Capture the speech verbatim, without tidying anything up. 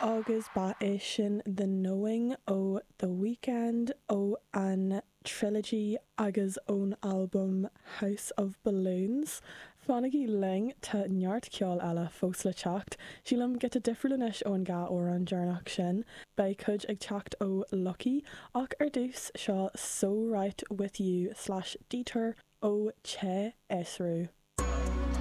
Agus ba é sin The Knowing ó The Weeknd ó an Trilogy agus ón albam House of Balloons. Fanaigí linn tá neart ceol eile fós le teacht. Sílim giota difriúil anois ón dhá amhrán deireanach sin, beidh cuid ag teacht ó Lucky ach ar dtús seo So Right With You slash Detour ó Che Esru.